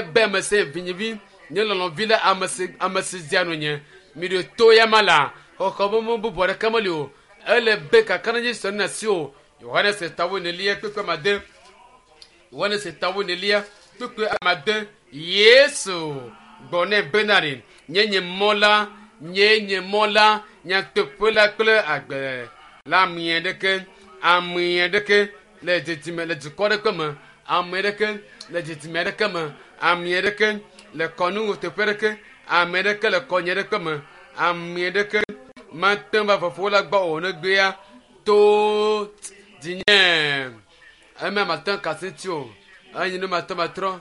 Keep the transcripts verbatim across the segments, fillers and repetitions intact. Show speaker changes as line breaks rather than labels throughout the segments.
Be ame si vinyevi nye lɔlɔ̃vi la ame si ame si dzia nu nye mi ɖo to ya ma la xɔxɔ be mo bubu aɖeke meli o ele be kakaɖedzi sɔ na si o Yohanes tawo nelia kpekpe amade Yohanes tawo nelia kpekpe amade Yesu gbɔ nɛ bena ɖe nye nye mɔ la nye nye mɔ la nyateƒe la kple agbe la ame ɖeke ame ɖeke le dedime le dukɔ ɖeke me ame ɖeke le dedime ɖeke me ame ɖeke le kɔnu teƒe ɖeke ame ɖeke le kɔnye ɖeke me ame ɖeke mate ŋu va fofo la gbɔ o negbea to dzinye ema mate ŋu kasi ŋuti o enyi nu mate matrɔ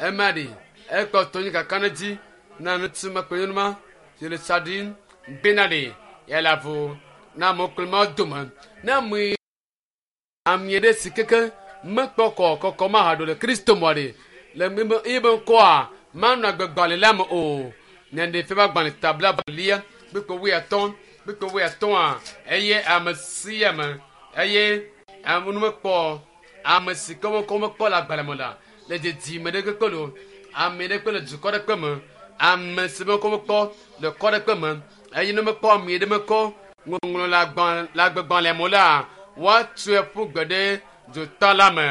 ema ɖi ekpɔtɔ nyi kakaɖedzi na ŋutsu ma kple nyɔnu ma si le tsa ɖim bena ɖe yeale avu na amewo kple mawo dome ne ame ame ɖe si keke mekpɔ kɔ kɔkɔ ma haɖo le kristo mɔ ɖe le ebe ŋkɔa manɔ agbegbalẽ la me o nyaɖe fia be agbalẽ tabla lia kpekpe wuiatɔ̃ kpekpe wuiatɔ̃a eye ame sia ame eye ame nu mekpɔ ame si ke wokɔ mekpɔ le agbalẽ me la le dedime ɖe kpekpe lo ame ɖe kpe le dukɔ ɖe kpe me ame si mekɔ mekpɔ le kɔ ɖe kpe me eye ne mekpɔ ame ɖe mekɔ ŋɔŋlɔ le agbalẽ le agbegbalẽ me la woatsoe ƒu gbe ɖe dzota la me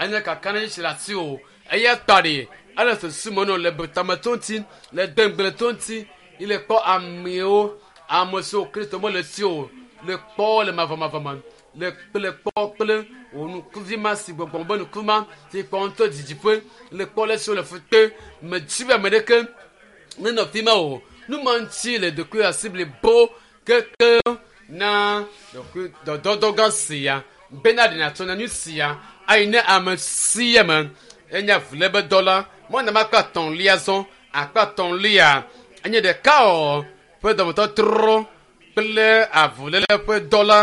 enye kakaɖedzi si le asi o eya ta ɖe ele susu me nɔ le tametɔ ŋuti le dengble to ŋuti yi le kpɔ amewo ame siwo kristo mele si o le kpɔ le mavɔmavɔ me le kple kpɔ kple wò nukuvi ma si gbɔgbɔ be nuku ma si kpɔ ŋutɔ didiƒe le kpɔ le siwo le fu kpe medzi be ame ɖeke nenɔ fi ma o nu ma ŋuti le ɖokui asi blibo keke na ɖokui dɔdɔdɔ gã sia bena ɖe nàtsɔ nyanyui sia ayi ne ame sia me enye avulébe dɔ la mɔna ma akpa atɔ̃lia zɔ akpa atɔ̃lia enye ɖeka o ƒe dɔmetɔtrɔ kple avuléle ƒe dɔ la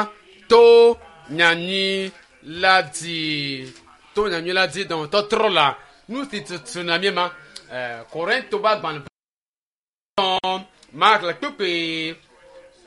to nyanyui la dzi to nyanyui la dzi dɔmetɔtrɔ la nu si tutu na mi ma ɛɛ Korinto be agbalẽ Mark le kpukpui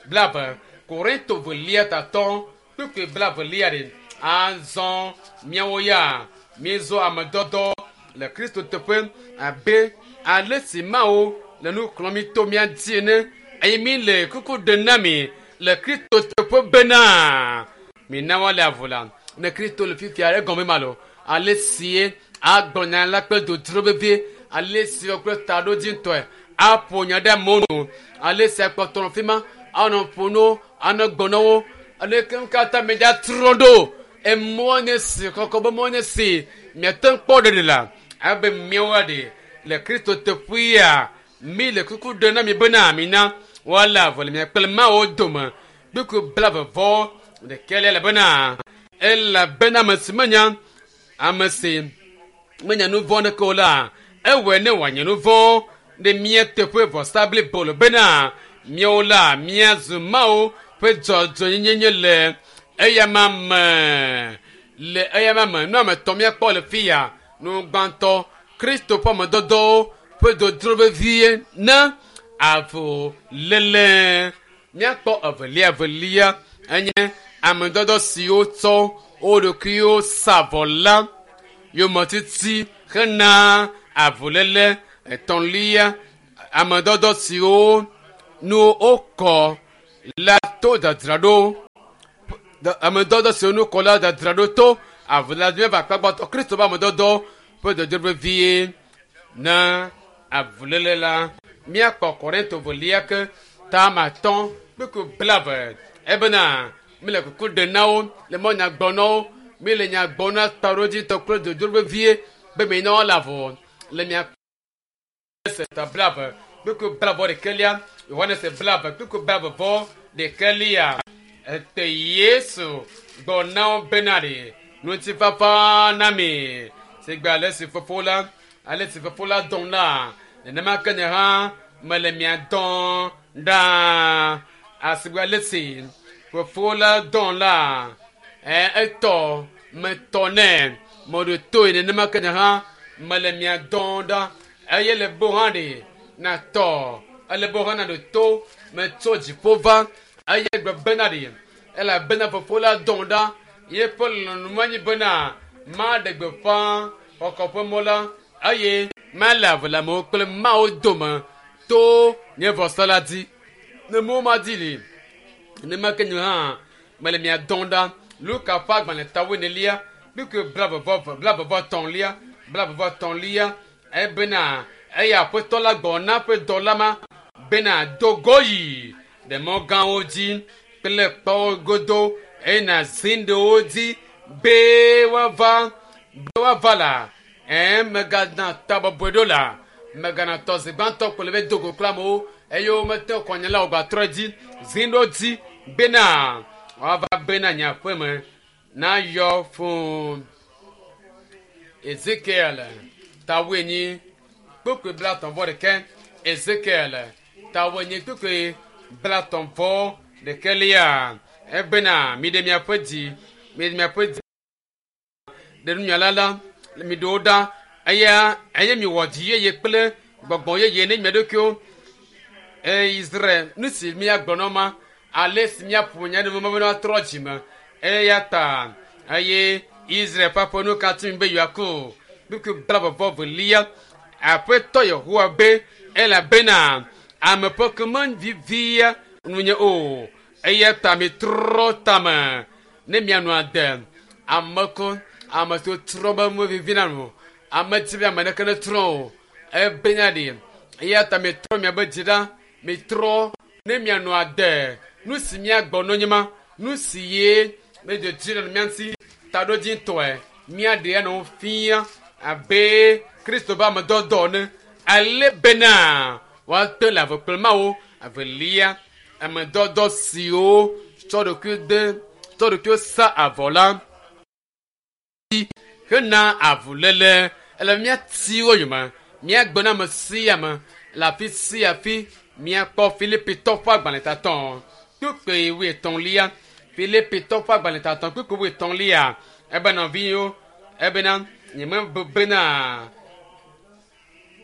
blaeve Korinto velia tatɔ kpukpui blaevelia ɖe azɔ miawo ya míezɔ ame dɔdɔ le Kristo teƒe abe ale si Mawu le nu xlɔ̃m mi to mía dzi ene eye mi le kuku ɖem na mi le Kristo teƒe bena mina woale avu la ne Kristo le fifia egɔme ma lo ale sie agblɔ nya la kple dodro vevie ale si kple taɖodzitɔe aƒo nya ɖe amewo nu ale si akpɔtɔ nɔ fi ma anɔ ƒo no anɔ gbɔ na wo ale ke katã mi dza trɔ ɖo emɔ nye si kɔkɔ be mɔ nye si miate ŋu kpɔ ɖeɖe la abe miawo ɖe le Kristo teƒea mi le kuku ɖem na mi bena mina woale avu le mia kple Mawu dome kpukpui blaeve vɔ ɖekɛlia le bena elabena ame si menya ame si menya nu vɔ̃ ɖeke o la ewɔe ne wòanye nu vɔ̃ ɖe mía teƒe vɔsa blibo le bena míawo la míazu Mawu ƒe dzɔdzɔnyenye le eyama me le eyama me nu ame etɔ̃ míakpɔ le fi ya nu gbãtɔ Kristo ƒe amedɔdɔwo ƒe dodro vevie na avuléle míakpɔ evelia evelia enye amedɔdɔ siwo tsɔ wo ɖokuiwo sa vɔ la yometiti hena avuléle etɔ̃lia amedɔdɔ siwo nu wokɔ la to dzadzraɖo amedɔdɔ siwo nu kɔ la dzadzraɖo to avuléle míava akpa gbãtɔ Kristo ƒe amedɔdɔ ƒe dodro vevie na avuléle la míakpɔ Korinto velia ke tama atɔ̃ kpukpui blaeve ebena mi le kuku ɖem na wo le mɔ nya gbɔ na wo mi le nya gbɔ na taɖodzitɔ kple dodro vevie be mi na woale avu le mia se ta blaeve kpukpui blaeve ɖekɛlia Yohanes blaeve kpukpui blaeve vɔ ɖekɛlia ete Yesu gbɔ na wo bena ɖe ŋutifafa na mi sigbe ale si fofo la ale si fofo la dɔm la nenema ke nye hã mele mia dɔm ɖaa asigbe ale si fofo la dɔm la ɛ etɔ metɔ nɛ meɖo toe nenema ke nye hã mele mia dɔm ɖa eye le bo hã ɖe natɔ ele bo hã naɖo to metso dziƒo va eye gbe bena ɖe elabena fofo la dɔm ɖa yeƒe lɔlɔ̃nu menye bena maɖe gbeƒã xɔxɔ ƒe mɔ la eye Mele ave le amewo kple Mawu dome to nye vɔsa la dzi. Ne mo ma dzi li, nenema ke nye hã mele mia dɔm ɖa. Luka ƒe agbalẽ ta wuienelia, kpukpui blaeve vɔ eve, blaeve vɔ etɔ̃lia, blaeve vɔ etɔ̃lia, ebena eya aƒetɔ la gbɔ na ƒe dɔla ma bena do go yi ɖe mɔ gãwo dzi kple kpɔwo godo eye nàzi ɖe wo dzi be woava be woava la ɛɛ megana ta bɔbɔe ɖo la megana tɔ zi gbãtɔ kple be do go kple amewo eye womete kɔnya la wògbatrɔ dzi zi ɖo dzi bena woava bena nye aƒeme nayɔ fũu. Ezekiel ta wuienyi kpukpui blaetɔ̃ vɔ ɖeke. Ezekiel ta wuienyi kpukpui blaetɔ̃ vɔ ɖekelia ebena mi ɖe miaƒe dzi mi ɖe miaƒe dzi ɖe nunyala la mi ɖewo ɖa eya eye miwɔ dzi yeye kple gbɔgbɔ yeye ne mia ɖokuiwo. Eye Israel nu si miagblɔ na ma ale si miaƒo nya ɖe me be woatrɔ dzime eya ta eye Israel ƒe aƒe nu katã mi be yewoako kpukpui blaeve vɔ velia aƒetɔ Yehowa be elabena ame ƒe ke mevivia nunye o eya ta mitrɔ tame ne mianɔ ade ame ko ame siwo trɔ be mevivina nu ame dzi be ame ɖeke netrɔ o ebenya ɖi eya ta mitrɔ miabe dzi ɖa mitrɔ ne mianɔ ade nu si miagbɔ no nye ma nu si ye medzo dzi le mia ŋuti taɖodzitɔe miaɖe anɔ wo fia abe Kristo ƒe amedɔdɔ ene ale bena woate le ave kple Mawu avelia amedɔdɔ siwo tsɔ ɖokui de tsɔ ɖokuiwo sa avɔ la hena avuléle ele míati wo yome míagbe na ame sia ame le afi sia afi míakpɔ Filipitɔ ƒe agbalẽ tatɔ kpukpui wuietɔ̃lia Filipitɔ ƒe agbalẽ tatɔ kpukpui wuietɔ̃lia ebe nɔviwo ebena nyemebu bena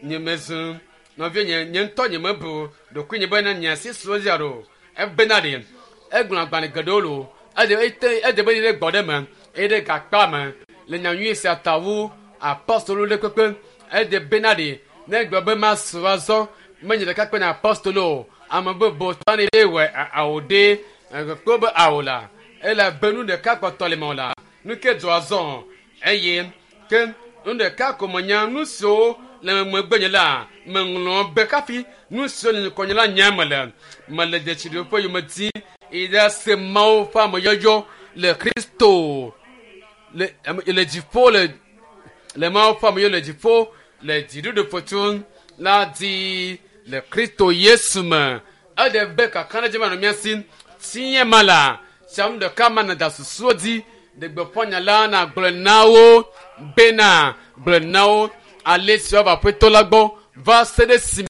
nyemezu nɔviwo nye nye ŋutɔ nyemebu ɖokuinye bena nye asi su edzi alo ebena ɖe egblɔ agbalẽ geɖewo lo ede ete ede be ɖe gbɔ ɖe me eye ɖe gakpa me le nyanyui sia ta wu apostolo ɖe kpekpe ede bena ɖe ne gblɔ be masu azɔ menye ɖeka kpe na apostolo o ame bubu tɔ ne ɖe wɔ awo ɖe kpɔ be awo la ele be nu ɖeka kpɔtɔ le me o la nu ke dzɔ azɔ eye ke nu ɖeka ko menya nu siwo le megbe nye la meŋlɔ be kafi nu siwo le ŋkɔnye la nya mele mele dzesi ɖe ƒe yome di yi ɖe se Mawu ƒe ameyɔyɔ le Kristo le le dziƒo le le Mawu ƒe ameyɔyɔ le dziƒo le dziɖuɖu ƒotu la di le Kristo Yesu me eɖe be kakaɖedzi ma nɔ mía si tiɲɛ ma la tsiamu ɖeka ma nada susuwo dzi ɖe gbeƒã nya la na gblɔe na wo bena gblɔe na wo ale si woava aƒetɔ la gbɔ va se ɖe si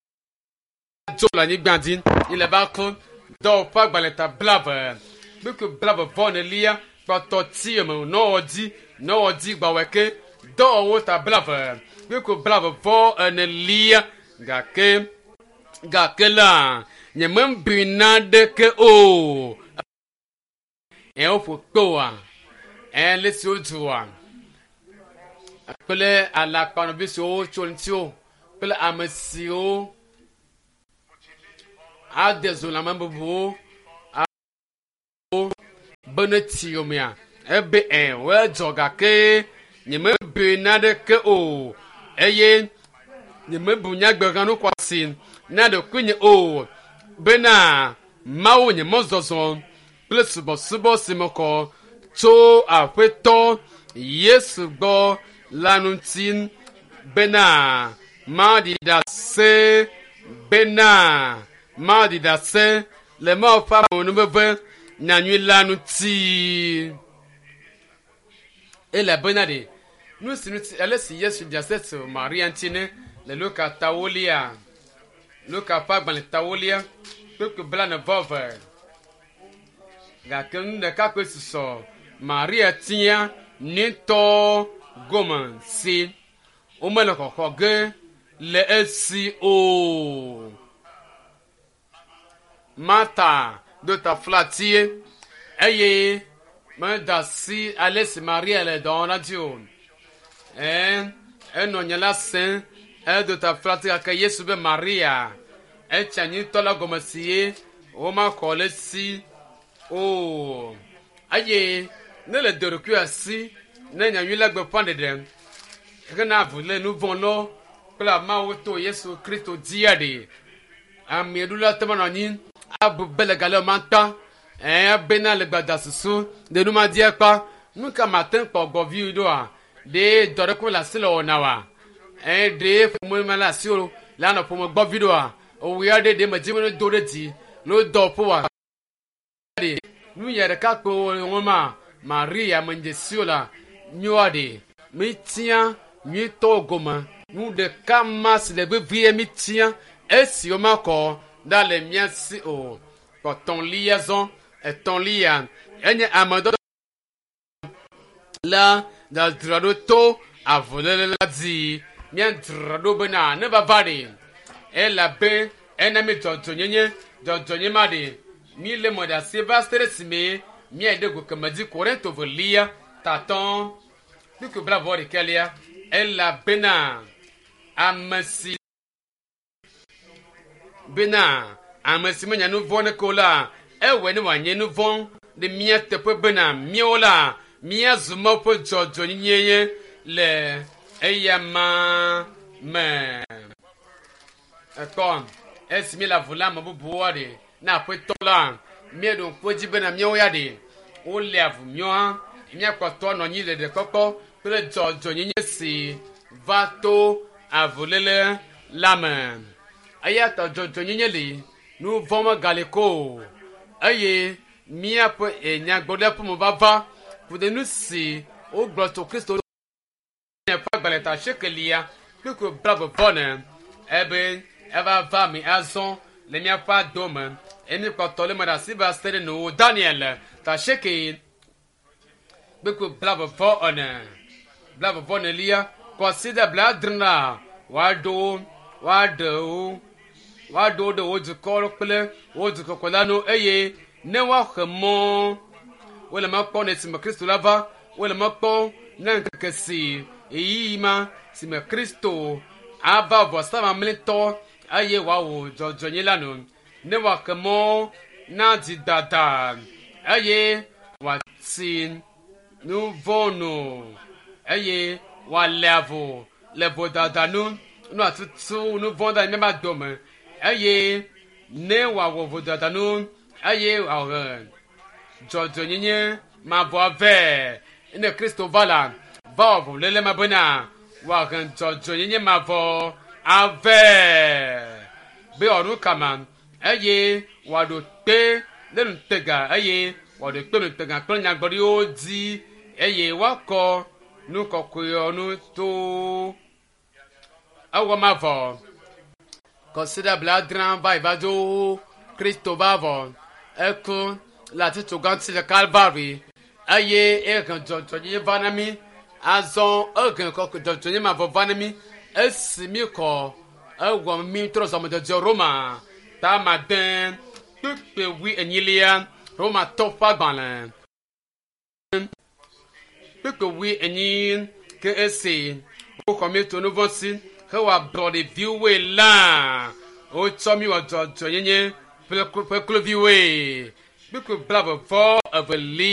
dzo le anyigba dzi yi le ba ku dɔwɔƒe agbalẽ ta blaeve kpukpui blaeve vɔ enelia kpɔtɔ ti yome nɔwɔ dzi nɔwɔ dzi gbawɔe ke dɔwɔwɔ ta blaeve kpukpui blaeve vɔ enelia gake gake la nyemebui naɖeke o ɛ woƒo kpe oa ɛ le si wodua kple alakpanɔvi siwo tso ŋutiwo kple ame siwo ade zo le ame bubuwo be ne ti yomea ebe ɛ woedzɔ gake nyemebui naɖeke o eye nyemebu nyagbe nu xɔasi na ɖokuinye o bena Mawu nye mɔzɔzɔ kple subɔsubɔ si me kɔ tso aƒetɔ Yesu gbɔ la ŋuti bena maɖi ɖase bena maɖi ɖase le Mawu ƒe amenuveve nyanyui la ŋuti. Elabena ɖe nu si ŋuti ale si Yesu ɖi ɖase tso Maria ŋuti ne le Luka tawolia Luka ƒe agbalẽ tawolia kpukpui blaene vɔ eve gake nu ɖeka koe susɔ Maria tia nyuitɔ gome si womele xɔxɔ ge le esi o. Marta do taflatie eye meda asi ale si Maria le dɔ wɔm la dzi o. Ɛɛ enɔ nye la sẽm Edo ta flati gake Yesu be Maria etsi anyitɔ la gɔme si ye womaxɔ le si o. Eye ne le do ɖokui asi ne nyanyui la gbeƒã ɖeɖe hena avu le nu vɔ̃ lɔ kple Mawu to Yesu Kristo dzia ɖe. Ameɖula te manɔ anyi abu be le gale ma ta ɛɛ bena le gbada susu ɖe nu ma di ekpa nu ka ma te kpɔ gbɔvi ɖoa ɖe dɔ ɖe ko le asi le wɔna wa ɛɛ ɖe ƒome ma le asi o le anɔ ƒome gbɔvi ɖoa owu ya ɖe ɖe me dzi be do ɖe dzi le dɔ ƒo wa ɖe nu ya ɖeka kpe wo ma Maria me dze si o la nyoa ɖe mi tia nyuitɔ gome nu ɖeka ma si le vevie mi tia esi womakɔ ɖa le mía si o. Kpɔtɔ̃lia zɔ etɔ̃lia enye ame dɔdɔ la dzadzra ɖo to avuléle la dzi. Míadzra ɖo bena ne vava ɖe elabe ena mi dzɔdzɔnyenye dzɔdzɔnye ma ɖe mi le mɔ ɖe asi va se ɖe esime míayi ɖe go keme dzi Korinto velia tatɔ kpukpui blaeve ɖekɛlia elabena ame si bena ame si menya nu vɔ̃ ɖeke o la ewɔe ne wòanye nu vɔ̃ ɖe mía teƒe bena míawo la míazu Mawu ƒe dzɔdzɔnyenye le eya ma me. Ekpɔ esi míele avu le ame bubuwoa ɖe na aƒetɔ la míeɖo ŋku edzi bena míawo ya ɖe wole avu míawo hã míakpɔtɔ nɔ anyi le ɖekpɔkpɔ kple dzɔdzɔnyenye si va to avuléle la me. Eya ta dzɔdzɔnyenye li nu vɔ̃ megali ko o eye míaƒe nyagblɔɖia ƒe mevava ku ɖe nu si wogblɔ tso Kristo ƒe agbalẽ ta asiekelia kpukpui blaeve vɔ ene ebe eva va mi azɔ le míaƒe ado me eye míkpɔtɔ le me ɖe asi va se ɖe nuwo Daniel ta asieke kpukpui blaeve vɔ ene blaeve vɔ enelia kɔsiɖa blaadre la woaɖo wo woaɖe wo woaɖo wo ɖe wo dukɔ kple wo dukɔkɔ la nu eye ne woaxe mɔ wole mɔ kpɔm ne esime Kristo la va wole mɔ kpɔm ne ŋkeke si ɣeyiɣi ma si me Kristo ava vɔsa mamlɛtɔ eye wòawɔ dzɔdzɔenye la nu ne wòaxe mɔ na dzidada eye wòatsi nu vɔ̃ nu eye wòalé avu le vodada nu nu atutu nu vɔ̃ da míaƒe dome eye ne wòawɔ vodada nu eye wòahe dzɔdzɔenyenye mavɔ vɛ ne Kristo va la va wɔ avuléle ma bena wòahe dzɔdzɔenyenye mavɔ avɛ be wòaɖo kama eye wòaɖo kpe ɖe nutega eye wòaɖo kpe nutega kple nyagblɔɖiwo dzi eye woakɔ nu kɔkɔewo nu to ewɔ mavɔ kɔsiɖa blaadre va yi va dzo Kristo va vɔ eku le atitsoga ŋuti le Kalvari eye ehe dzɔdzɔenyenye va na mí azɔ ehe kɔkɔ dzɔdzɔenyenye mavɔ va na mí esi mí kɔ ewɔ mí trɔ zɔme dzɔdzɔ Roma ta ade kpukpui wui enyilia Romatɔ ƒe agbalẽ kpukpui wui enyi ke esi woxɔ mí tso nu vɔ̃ si hewɔ ablɔɖeviwoe la wotsɔ mí wɔ dzɔdzɔenyenye ƒe kluviwoe kpukpui blaeve vɔ evelia.